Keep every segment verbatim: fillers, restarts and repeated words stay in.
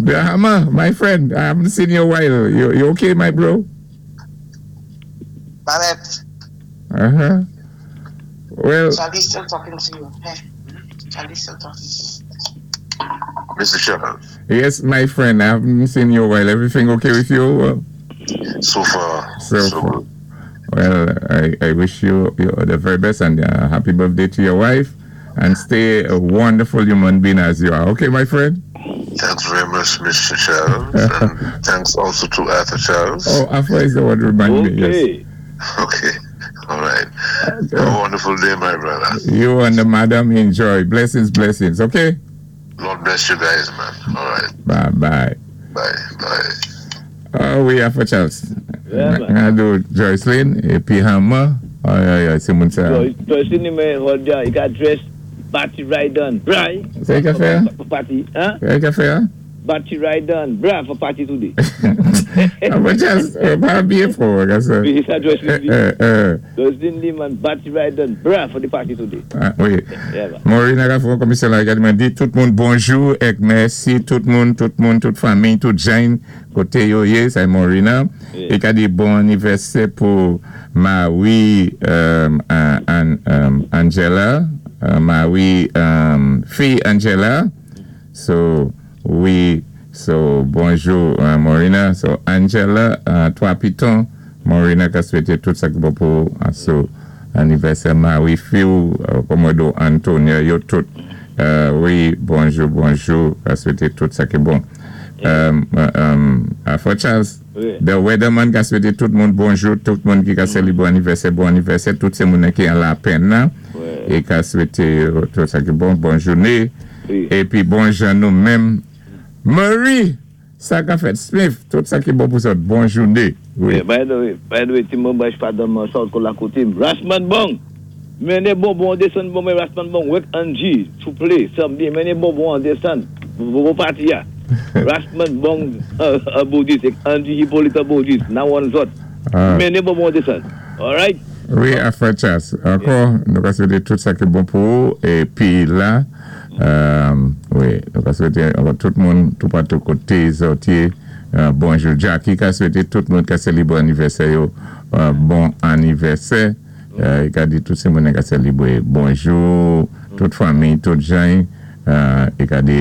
Drama, my friend, I haven't seen you a while. You, you okay, my bro? Barrett, Uh-huh. Well, Charlie's still talking to you. Hey, Charlie's still talking to you. Mr. Charles, yes, my friend, I haven't seen you a while. Everything okay with you? Well, so far, So so, far. good. Well, I, I wish you, you the very best and uh, happy birthday to your wife and stay a wonderful human being as you are. Okay, my friend? Thanks very much, Mr. Charles, and thanks also to Arthur Charles. Oh, Afra is the one to remind me. Yes. Okay. Okay, all right. Have a wonderful day, my brother. You and the madam enjoy. Blessings, blessings. Okay? Lord bless you guys, man. All right, Bye bye. bye, bye. Oh, wi, Afra Charles. Yeah, man. I do Joycelyn épi Hammer. Oh, yeah, yeah, sé moun sa. Joycelyn ni men, hold ya, i ka dress Batty Rydon, bra. Sé i ka fè? For party, hein? Sé i ka fè? Batty Rydon, bra for party today. Afra Charles, euh, pa byen fò, sa. Wi, sa Joycelyn di. Euh, euh, Joycelyn di man, Batty Rydon, bra for the party today. ah, wi. Yeah, man. Maureen a komisè la di tout moun bonjou é mèsi tout moun, tout moun, tout fanmi, tout jan koté yo yé, sé Maureen. Yeah. É ka di bon anivèsè pou Marie euh, An- An- Angela, euh, Marie um, fi Angela. So, wi, so bonjou euh, Maureen. So Angela, euh, twa pitons, Maureen ka swété tout sa ki bon pou euh, so anivèsè Marie fi euh, Komodo Antonio, yo tout. Euh, wi, bonjou, bonjou, ka swété tout sa ki bon. Euh, euh, um, Afra Charles, Wi. The Weatherman ka swété tout moun bonjou, tout moun ki ka sélibwé anivèsè, bon anivèsè, tout sé moun ki an lapenn nan, Wi. é ka swété euh, tout sa ki bon, bon jouné. Wi. Épi bon jan nou menm. Marie, sa ka fèt Smith, tout sa ki bon pou sa, bon jouné. Wi. Yeah, by the way, by the way, ti moun ba pa dan man sort kon la kote. Rasman Bong! Mennen bonbon an désann bon men Rasman Bong, wek Angie, souplé, samdi, mennen bonbon an désann. Bon party ya. Rasman Bong, euh, euh, Baudis, ek Angie Hippolyte Baudis, nan wan zot. Ah. Mennen bonbon an désann. Alright? Wi, Afra Charles. Ankò, nou ka swété tout sa ki bon pou ou. Épi la, euh, wi, nou ka swété ankò tout moun, tout patou koté zòt yé, euh, bonjou. Jackie ka swété tout moun ka sélibwé anivèsè yo, euh, bon anivèsè. Euh, i ka di tout sé moun ka sélibwé bonjou, tout fanmi, tout jan, euh, i ka di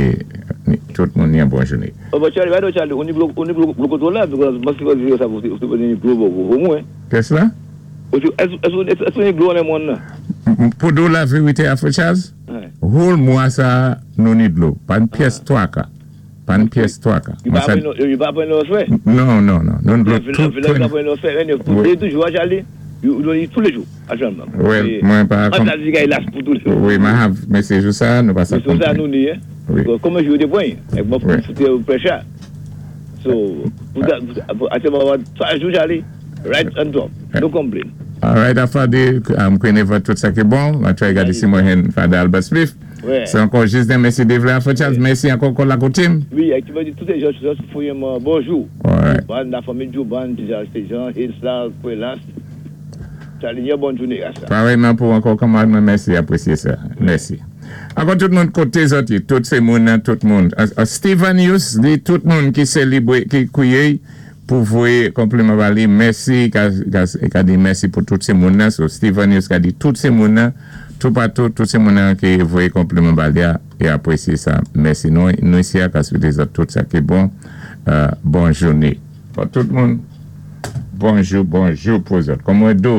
tout moun ni bon jouné. Oh, but Charlie, why don't Charlie, on y bloque, on y bloque, bloque là, because must be ça, vous vous bloque au moins. Qu'est-ce là? Est-ce est-ce qu'on y bloque les moun là? Pou di la vérité, Afra Charles, Ouais. whole mwa sa nou ni dlo. Pa ni pyès twaka. Pa ni pyès twaka. Il Mwen pa sa- il pa pran nos frais. Non, non, non. Nou dlo tout. Il pa pran nos frais. Wi. Toujou, Charlie, you tous les jours, actuellement. Wi, mwen pa On a dit qu'il a pour tous les jours. Wi, mwen have mesaj sa, nou pa sa Mais c'est ça, nous, ni, hein. Wi. Comment je veux des points? Et moi, Wi. pour foutre pressure. So, pour actuellement, trois jours, Charlie, right on top. No complaint. All right, Afra di, um, konnen tout sa ki bon. Mwen try gade si mwen hen Father Albert Smith. Ouais. C'est encore juste un merci de Afra Charles. Mèsi ankò kon la koté. Oui, et tu vas dire tous les gens, faut un bonjour. All right. Bon, la famille Djouban, Jean, Hilsla, Kwelas. Charlie, bonne journée à ça. Pareillement pou ankò kamarad mwen, mèsi, apresyé sa. Mèsi. Ankò tout moun koté zòt, tout sé moun, tout moun. Uh, uh, Steven Hughes di tout moun ki sélibwé, ki kwiyé pou voyé konpliman ba li, mèsi, ka, ka, ka di mèsi pou tout sé moun nan. So Steven Hughes ka di tout sé moun nan, tout patou, tout sé moun nan ki voyé konpliman ba li é apresyé sa. Mèsi. Nou, nou isi a ka swété zòt tout sa ki bon. Euh, bon jouné. Pou tout moun, bonjou, bonjou pou zòt. Kòm mwen di,